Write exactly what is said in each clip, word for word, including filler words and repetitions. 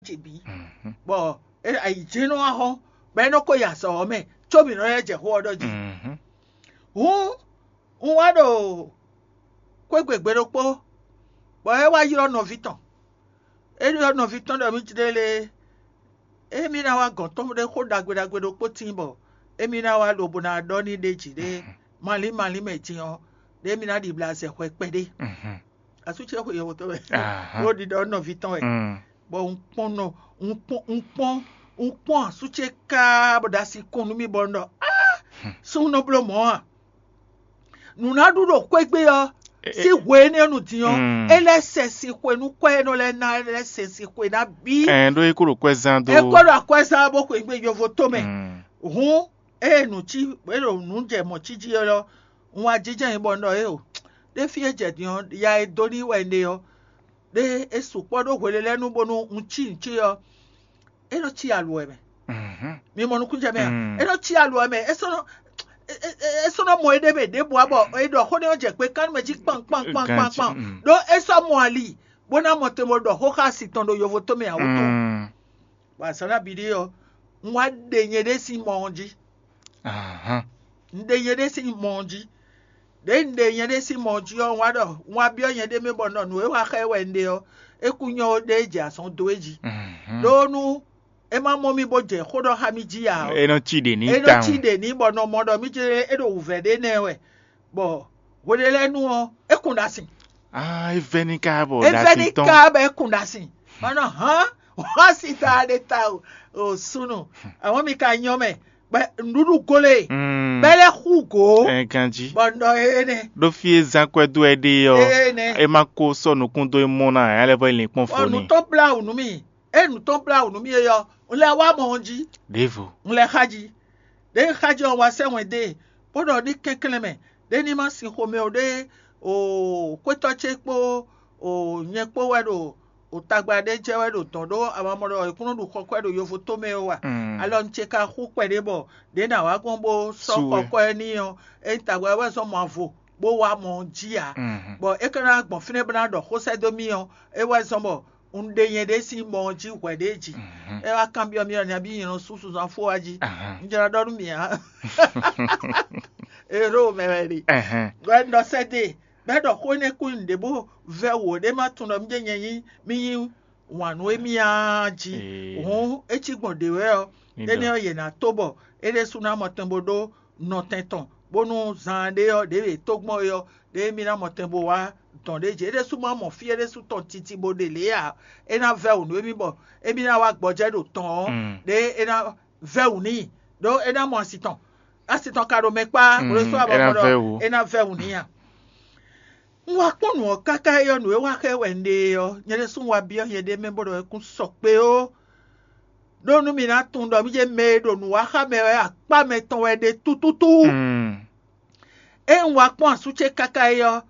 ce bǐ. Bɔ ayǐjínɔ wá hɔn, bɔ é nɔ ko yi azɔ̌ ɔ́ mɛ, có mǐ nɔ lɛ́ jɛ xó ɔ́ ɖɔ jí. Hǔn un wá ɖo xwé gbe gbe ɖokpó, bɔ é wá ylɔ́ nɔví tɔn. É ylɔ́ nɔví tɔn ɖɔ mì jlé lé, émí ná wá gɔ̌n tɔn ɖé xó ɖagbe ɖagbe ɖokpó tíin bɔ émí ná wá lobo ná ɖɔ n'i ɖ'é jí ɖé malín malín mɛ din ɔ́, ɖé émí ná ɖibla azɛ hwɛ kpɛɖé. Asú ce xwe yɔwɔ tɔn wɛ, bó ɖiɖɔ nɔví tɔn wɛ. Bɔ un kpɔ́n nɔ un kpɔ́n un kpɔ́n un kpɔ́n asú ce káá bɔ ɖo asi kɔn nú mì bɔ un ɖɔ, "Ah, súnnu nɔ bló mɔ̌ a?" Nǔ ná ɖu ɖo xwé gbe ɔ́, sín hwe énɛ́ nu din ɔ́, é lɛ́ sɛ sin xwe nú kwɛ́ e nɔ lɛ́ ná é lɛ́ sɛ sin xwe ná bí. Ɛn ɖó é kó ɖo kwɛ́ zán dó. É kó ɖo akwɛ́ zán bó xwe gbe yovo tó mɛ. Hǔn ée nǔ cí é ɖo nǔ jɛ mɔ̌ cí jí é lɔ, un wá jínjɔ́n nyi bɔ un ɖɔ éeǒ, ɖé fí e jɛ din ɔ́, ya e dó n'i wɛ un ɖe ɔ́, ɖé é sukpɔ́ ɖó hwelelɛ́nu bónú un cí nǔ cí ɔ́, é nɔ cí aluwɛ mɛ. Mi mɔ nukúnjɛ mɛ a? É nɔ cí aluwɛ mɛ, é sɔ́ nɔ é sɔ́ nɔ mɔ éɖée mɛ ɖěbǔ ǎ bɔ è ɖɔ xó nɛ́ ɔ́ jɛ kpekánú mɛ jí kpan kpan kpan kpan kpan, ɖó é sɔ́ mɔ ali bó ná mɔ te bó ɖɔ xó xá asi tɔn ɖo yovo tó mɛ ǎ wútu. Bɔ azǎn ná bǐ ɖé ɔ́, un wá ɖe nyɛɖée sín mɔ ɔ́ jí. Un ɖe nyɛɖée sín mɔ ɔ́ jí. Ɖěe un ɖe nyɛɖée sín mɔ ɔ́ jí ɔ́, un wá ɖɔ un wá byɔ́ nyɛɖée mɛ bɔ un ɖɔ nǔ e wá xá ɛ wɛ un ɖe ɔ́, é kú nyɔ́ ó ɖé jɛ azɔn dó é jí. Ɖó nú é má mɔ mì bó jɛ xó ɖɔ xá mì jí ǎ ɔ́, É nɔ cí ɖě n'i é nɔ cí tawun. Ɖě n'i bɔ nɔ mɔ ɖɔ mì jlé é ɖo wǔvɛ́ ɖé nɛ́ wɛ, bɔ hweɖé lɛ́ɛ nu ɔ́, é kun ɖo asin. Ah, é vɛ́ ní ká bɔ é vɛ́ ní ɖasi tɔn. Ká bɔ é kun ɖo asin. Mɔ nɔ hán wá si ta ɖe ta o, o súnnu, àwọn mi ka nyɔ mɛ, bɔ nǔɖuɖu gólé, Mm. Bɛ lɛ́ xú gǒ, Ɛ ganjí. Bɔ un ɖɔ énɛ́. Ɖó fí e zán kwɛ́ dó ɛ ɖe ɔ́, Énɛ́. É má kó sɔ́ nukún dó é mɔ ná ɛ lɛ́ vɔ é lin kpɔ́n Bɔ fó nǔ n'i. Tɔn blá wǔ nú mì. Ée nǔ tɔn blá wǔ nú mì é ɔ́, un lɛ́ wá mɔ ɔ́ jí. Ɖěvo. Un lɛ́ xá jí. Ɖěe xá jí ɔ́, un wá sɛ́ wɛn dó e, bó ɖɔ ní kɛnklɛ́n mɛ, ɖé ní má sin xomɛ ó ɖé o xwétɔ́ ce kpó o nyɛ kpó wɛ ɖo o tagba ɖé jɛ wɛ ɖo dɔ̌n ɖó amamɔ ɖɔ è kún nɔ ɖu xɔkwɛ ɖo yovo tó mɛ ó a? Mm. Alɔ un ce ka xú kpɛɖé bɔ ɖě nǎ wá gbɔn bó sɔ́ Su wɛ. Xɔkwɛ n'i ɔ́, é nyí tagba wɛ zɔn mɔ avo bó wá mɔ ɔ́ jí ǎ. Mhm. Bɔ é ka ná gbɔn fínɛ́ bó ná ɖɔ xó sɛ́ dó mì ɔ́, é wɛ zɔn bɔ un ɖe nyɛɖée sín mɔ ɔ́ jí hwɛ̌ ɖé jí. Mhm. É wá kanbyɔ́ mì ɔ́, nabí nyɛ nɔ sú suzan fó wá jí. Ahan. Un jlá ɖɔ nú mì ǎ. Ero mɛ wɛ ɖe. Ɛhɛn. Bɔ é nɔ sɛ́ dó e, bɔ é ɖɔ xó énɛ́ kú nyi nǔɖé bó vɛ́ wǒ ɖé má tunwun ɖɔ mì jɛ́n nyɛ nyí mì nyí wǎn nú émí ǎ jí. Ee. Hǔn é cí gbɔn ɖě wɛ ɔ́, Ní énɛ́ ɖɔ. Ɔ́ yě ná tó bɔ é ɖésú ná mɔ tɛn bó ɖó nɔtɛn tɔn, bónú zaan ɖé ɔ́, ɖěe è tó gbɔn é ɔ́, ɖěe émí ná mɔ tɛn bó wá dɔn ɖé jǐ. É ɖésú má mɔ fí é ɖésú tɔn titi bó ɖe lě ǎ. É ná vɛ́ wǔ nú émí bɔ émí ná wá gbɔjɛ́ ɖo tɔn ɔ́, Mm. Ɖěe é ná vɛ́ wǔ n'i, ɖó é ná mɔ asi tɔn. Asi tɔn ka ɖo mɛ kpá, Mm, hwlɛ́sú é ná avɔkɔ ɖɔ vɛ́ wǔ. É ná vɛ́ wǔ n'i a? Un wá kpɔ́n nǔ ɔ́ káká é ɔ́, nǔ e wá xá ɛ wɛ un ɖe é ɔ́, nyɛ ɖésú un wá byɔ́ nyɛɖée mɛ bó ɖɔ é kún sɔ kpé ó. Ɖó nú mi ná tunwun ɖɔ mì jɛ mɛ e ɖo nǔ wa xá mɛ wɛ akpá mɛtɔn wɛ ɖe tútútú. Mm. Ée un wá kpɔ́n asú ce káká é ɔ́,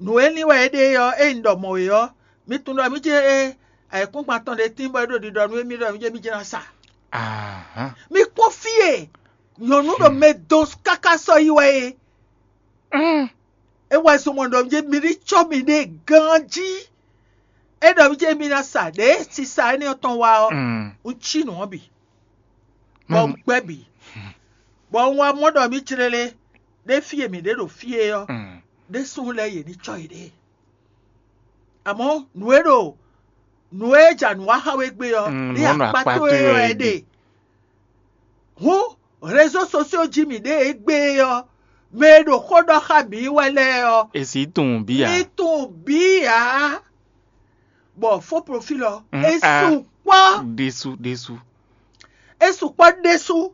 nǔ e lin wɛ é ɖe é ɔ́, ée un ɖɔ mɔ̌ é ɔ́, mi tunwun ɖɔ mì jɛ ayǐkúngban tɔn ɖé tín bɔ é ɖo ɖiɖɔ nú émí ɖɔ mì jɛ mì jɛ ná sa. Ahán. Mi kpɔ́n fí e nyɔ̌nu ɖo mɛ dó káká sɔ́ yi wɛ é. Mm. É wɛ zɔn mɔ ɖɔ mì jɛ mi ní cɔ́ miɖée ganjí. É ɖɔ mì jɛ mi ná sa ɖě sisa énɛ́ ɔ́ tɔn wá ɔ́, Mm. Un cí nǔ ɔ́ bǐ, bɔ Mɛ- un gbɛ́ bǐ, bɔ un wá mɔ ɖɔ mì jlélé ɖé fí e mǐ ɖe ɖo fí é ɔ́, Mm. Ɖésú lɛ́ɛ yě ní cɔ́ yěɖée. Amɔ̌ nǔ e ɖo nǔ e ja nǔ wa xá we gbe ɔ́, Mm, ní nǔ ɔ́ nɔ akpá akpá towe towe wɛ wɛ é ɖe. Hǔn réseaux sociaux jí mǐ ɖe égbé ɔ́, mɛ e ɖo xó ɖɔ xá mǐ wɛ lɛ́ɛ ɔ́, È sì tunwun bí ǎ. Mi tunwun bí ǎ. Bɔ faux profil ɔ́, Mm, é ah. Sukpɔ́. Ɖésú, ɖésú. É sukpɔ́ ɖésú.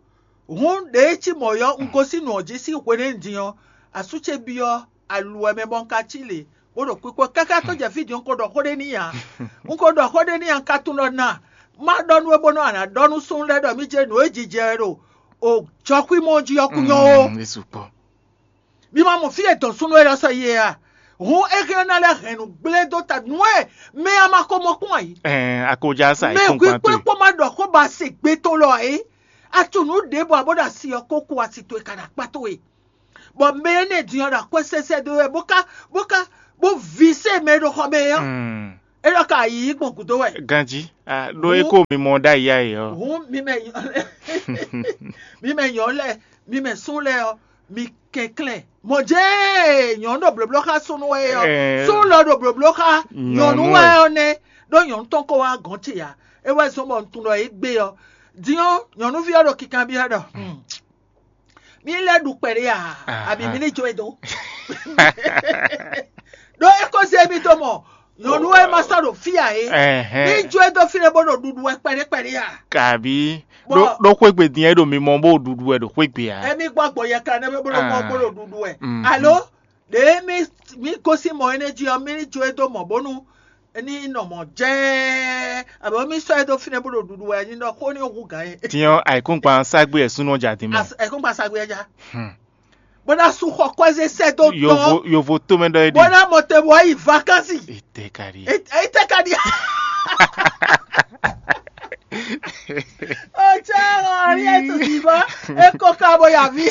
Hǔn ɖě cí mɔ̌ ɔ́, un gosín nǔ ɔ́ jí sín hwenɛ́nu din ɔ́, asú ce byɔ́ alu wɛ mɛ bɔ un ka cí lě, bó ɖo kpikpɔ́ káká tó jɛ fí din, un ko ɖɔ xó ɖé n'i ǎ. Un ko ɖɔ xó ɖé n'i ǎ, un ka tunwun ɖɔ na má ɖɔ nú we bónú a nǎ ɖɔ nú súnnu lɛ́ɛ ɖɔ mì jɛ nǔ e jijɛ wɛ ɖo o jɔxwímɔ jí ɔ́ kú nyɔ́ ó. Mm, é sukpɔ́. Mi ma mɔ fí e dɔn súnnu élɔ́ sɔ́ yi é a? Hǔn é hɛn ná lɛ́ hɛn nǔ gblé dó ta nǔ e mɛ a ma ko mɔ kpɔ́n ǎ. Ɛɛ, a ko já sa Mɛ ikú hwíkpé kpán towe. Kpó má ɖɔ xó ba se gbé tɔn lɔ ǎ é. A tunú ɖěbǔ abo ɖo asi ɔ́ kó kú asi towe ka ɖo akpá towe. Bɔ mɛ énɛ́ din ɔ́ ɖo akwɛ́ sɛsɛ dó wɛ bó ka bó ka bó ví sɛ mɛ e ɖo xɔ mɛ é ɔ́. Mm. É ɖɔ ka yǐyí gbɔn gǔdo wɛ. Ganjí, ah, ɖó é kó mi mɔ ɖ'ayǐ ayǐ ɔ́. Hǔn mi mɛ mi mɛ nyɔ̌nu lɛ́ɛ, mi mɛ sún lɛ́ɛ ɔ́, mi kɛnklɛ́n. Mɔ̌ jɛ́n nyɔ̌nu ɖo blǒbló xá súnnu wɛ é ɔ́, Ɛɛ. Súnnu lɔ ɖo blǒbló xá nyɔ̌nu Nyɔ̌nu wɛ wɛ. Ɔ́ nɛ́, ɖó nyɔ̌nu tɔn ko wá gɔ̌n ce ǎ. É wɛ zɔ́n bɔ un tunwun ɖɔ é gbé ɔ́. Din ɔ́, nyɔ̌nuví ɔ́ ɖo kinkanbyɔ́ ɖɔ: "Hmm, mí lɛ́ ɖu kpɛɖé a? Aha. Abǐ mí ní jó e dó?" Ɖó é ko zé mì dó mɔ nyɔ̌nu e ma sɔ́ ɖo fí ǎ é. Ɛhɛn. Ní jó e dó fínɛ́ bó ɖo ɖuɖu wɛ kpɛɖé kpɛɖé a? Kabí Bɔ- ɖó ɖó xwégbe din é ɖo mi mɔ bó ɖuɖu wɛ ɖo xwégbe ǎ. Emi gbɔ gbɔ yɛ kan nɛ́ bó ɖo mɔ Ah. bó ɖo ɖuɖu wɛ. Mhm. Alo ɖě mi mi gosín mɔ énɛ́ jí ɔ́, mi ní jó e dó mɔ bónú ní nɔ mɔ jɛ́ɛ, abɔ mi sɔ́ e dó fínɛ́ bó ɖo ɖuɖu wɛ, ní ɖɔ xó ní hu gǎn é. Tiɲɔ ayǐkúngban ságbe ɛ súnú ɔ́ jɛ adin mɛ. As- Ẹ̀kún gba sagbe ɛ já. Hmm. Bó ná sú xɔ kɔ́zé sɛ́ dó Yovo tɔn. Yovo tómɛ ɖɔ é Bó ɖi. Ná mɔ te bɔ yi vakansi. Ete ka ɖi. Ete ka ɖi. Otsɛ ɔ̀rí ètò ìbọn. Eko ka bó yà ví.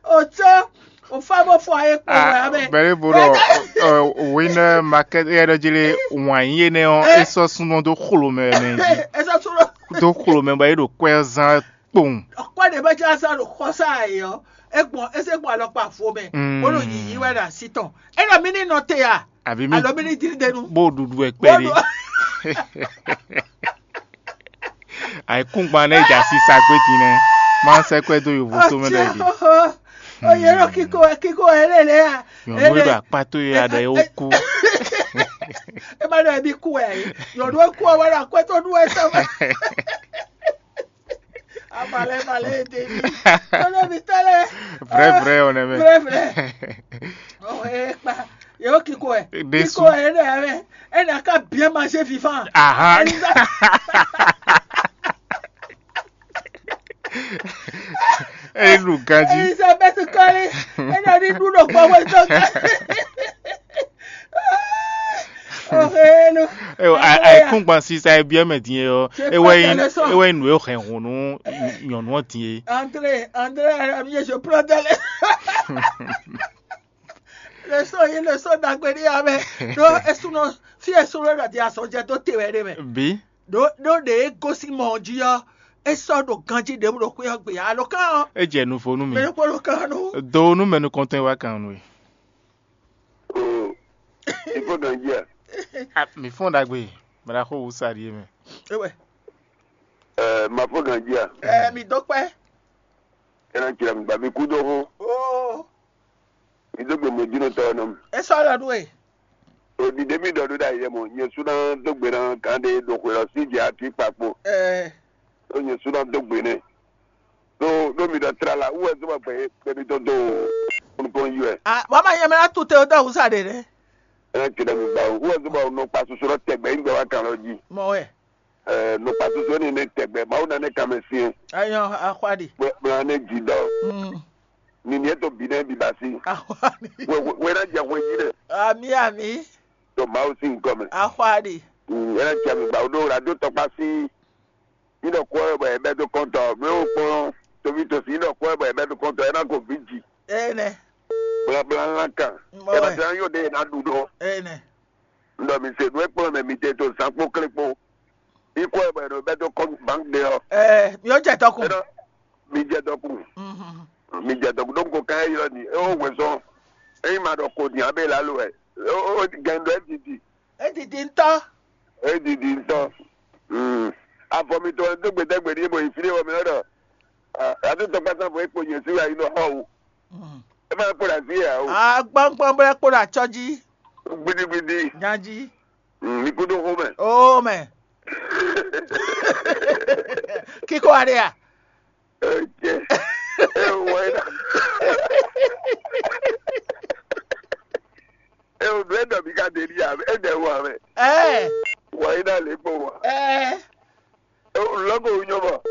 Otsɛ. Òfá bó fɔ ayé kpɔ wɛ abɛ. Bɛlɛ bo ɖɔ win market yɛ ɖɔ jele wàn yé nɛ ɔ. Esɔ sunɔ do xlo mɛ mɛ Esa tún lọ. Do xlo mɛ bɔ yé ɖo kwɛ zan kpowun. Ọkọ ɖe bɛ jẹ asa ɖo xɔsa ayé ɔ. Egbọn ese gbọn alɔkpa fo mɛ. Mm. Bolo yiyi wɛ ɖe asi tɔn. Ena mi ni nɔ te ya. Àbí mi Alɔ mi ni diri denu. Bó ɖuɖu ɛ kpɛ ɖe. Ayikúngban nɛ ja sisa gbé din nɛ. Má sɛ kwɛ dó yovo tó mɛ ɖɔ yìí. Oye ɖo kíkó ɛ kíkó ɛ lélẹ̀ ya. Nyɔnu e ɖo akpá tó ya ɖe ó kú. E ma ɖɔ ebi kú ɛ. Nyɔnu e kú ɛ wɛ ɖo akwɛ tó ɖu ɛ sɛ wɛ. Amalɛ malɛ e de mi. Tɔlɛ mi tɔlɛ. Vrai vrai on aime. Vrai vrai. Oh e kpa. Ye o kíkó ɛ. Kíkó ɛ ne ɛ. E na ka bien manger vivant. Aha. Elisabeth kɔli. E na ni ɖu ɖo gbɔwɛ tɔ. Ayikúngban sisa e biɔ mɛ din e ɔ, e wɛ nyi nǔ e hɛn hun nú nyɔ̌nu ɔ́ din e. André, André, ami je prends dans les. Le son, il le son d'Agbédia, mais non, esunɔ, fi esunɔ ɖo adi asɔjɛ dó te wɛ ɖe mɛ. Bi. Ɖo ɖo ɖe e gosín mɔ ɔ́ jí ɔ́, e sɔ́ ɖo ganjí ɖěbǔ ɖo xwé ɔ́ gbe alo kán ɔ́. E jɛ nuvo nú mi. Mɛ kpó ɖo kán nú. Do nú mɛ nukɔntɔn e wá kan nú e. Oh, il faut ganji a? Ah, mi fɔn ɖagbe, mɛ ɖaxó wusa ɖi e mɛ. Ewɛ. Eh, ma fɔn ganji a? Eh, mi dó kpɛ. Ena kira mi ba mi kú dó hó. Oh. Mi dó gbe mo dino tɔ nɔ. E sɔ lɔ ɖu e. O di de mi dɔ do da yɛ mo, nye su na dó gbe na kan de do xwe lɔ si jɛ ati kpakpo. Eh. O nye su na dó gbe ne. Ɖó ɖó mi ɖɔ tlala wú wɛ zɔ́n bɔ gbɛ gbɛ mi tɔn dó nukɔn yi wɛ. Ah, wàá máa yẹ mɛ ná tu te ó dá òwúsà ɖe ɖe. Ɛ ti ɖe mi gba wú wɛ zɔ́n bɔ nɔ kpa susu ɖɔ tɛgbɛ yi gbɛ wá kan lɔ jí. Mɔ wɛ. Ɛ nɔ kpa susu ni ne tɛgbɛ mawu na ne kan mɛ si. Ayɔ, axwa ɖi. Bla ne dzi dɔ. Mm. Ni ni eto bi ne bi ba si. Axwa ɖi. Wɛ wɛ na jɛ hwe yi ɖe. Ami ami. To mawu si nkɔ mɛ. Axwa ɖi. Mm, ɛ na jɛ mi gba wú ɖo radio tɔkpa si. Yi ɖɔ kɔ ɛ bɔ ɛ bɛ do kɔntɔ, mɛ wo kpɔn tovi tosi yi ɖɔ kɔ ɛ bɔ ɛ bɛ do kɔntɔ, ɛ na ko vi ji. Ene. Blabla lan kan. Mɔ Ɛ ba wɛ. Tɛ na yɔ de ɛ na ɖu ɖɔ. Ene. N ɖɔ mi se nu e kplɔn mɛ mi te to zan kpo kle kpo. Yi kɔ ɛ bɔ ɛ ɖo bɛ do kɔ bank de ɔ. Ɛ, mi yɔ jɛ tɔkun. Ɛ nɔ mi jɛ dɔkun. Mhm. Mi jɛ dɔkun ɖo ko kan ɛ yɔ ni. E wo wɛ sɔn. E yi ma ɖɔ ko ni abe la lo ɛ. O o gɛn ɖɔ e didi. E didi ŋutɔ. E didi ŋutɔ. Mm. Afɔ mitɔn dó gbedɛgbɛ ɖíe bɔ yi fí ɖé wɔ mɛ ɖɔ. Atu tɔkpata fɔ ekpo nyɛ sí wa yi nɔ xɔ o. Mm. E ma kpo ɖe asi ya o. Agbɔngbɔn bɛ kpo ɖe atsɔ jí. Gbidigbidi. Nyají. Mm, mi kúdó xó mɛ. O mɛ. Kíkó aɖe ya. Eke. E wɔ yi na. E o ɖu e ɖɔ mi ka ɖe ɖi ya e ɖe wɔ mɛ. Ɛ. Wɔ yi na le kpo wa. Ɛ. E o lɔgo wu nyɔ mɔ.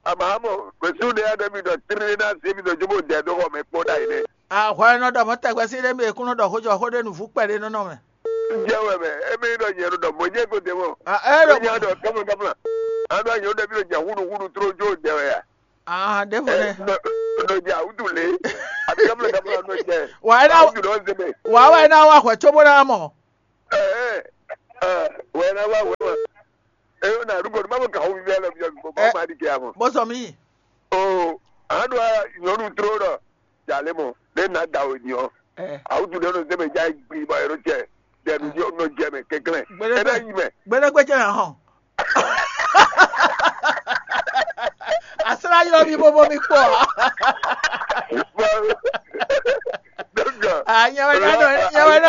Ama mɔ kwesu ɖe ya ɖe mi ɖɔ tiri na se mi ɖɔ jobo dɛ do xɔ mɛ kpɔ ɖa yi nɛ. Ahwa nɔ ɖɔ mɔ tɛgbɛ si ɖe mi ekun nɔ ɖɔ xojɔ xo ɖe nu vu kpɛ ɖe nɔ nɔ mɛ. Jɛ wɛ mɛ, e mi ɖɔ nyɛ ɖɔ mɔ nyɛ ko de mɔ. A e ɖɔ Nya ɖɔ kamla kamla. A ɖɔ nyɛ ɖɔ mi ɖɔ nya huɖu huɖu tro jo dɛ wɛ ya. Ah, ɖevo nɛ. Nɔ ja wudu le. A kamla kamla nɔ jɛ. Wa e na Wudu nɔ zebe. Bɔ awa ɛ ná wá hwɛ cóbó ná mɔ. Wɛ ná wá wɛ ma. Eyo na ɖu gbɔdɔ ma bɔ gawo vivi alɔ vivi bɔ ma ɖi kɛ amɔ. Bó sɔ mí. O, a ɖo nyɔnu tró ɖɔ jalè mɔ ɖe na da o nyɔ. Awu tu ɖe nɔ zɛmɛ ja gbi bɔ yɔrɔ cɛ dɛnu yɔ nɔ jɛ mɛ kɛnklɛn. Ena yi mɛ. Gbɛdɛgbɛ cɛ na hɔn. Asra ylɔ mi bobo mi kpɔ. Anya wɛ na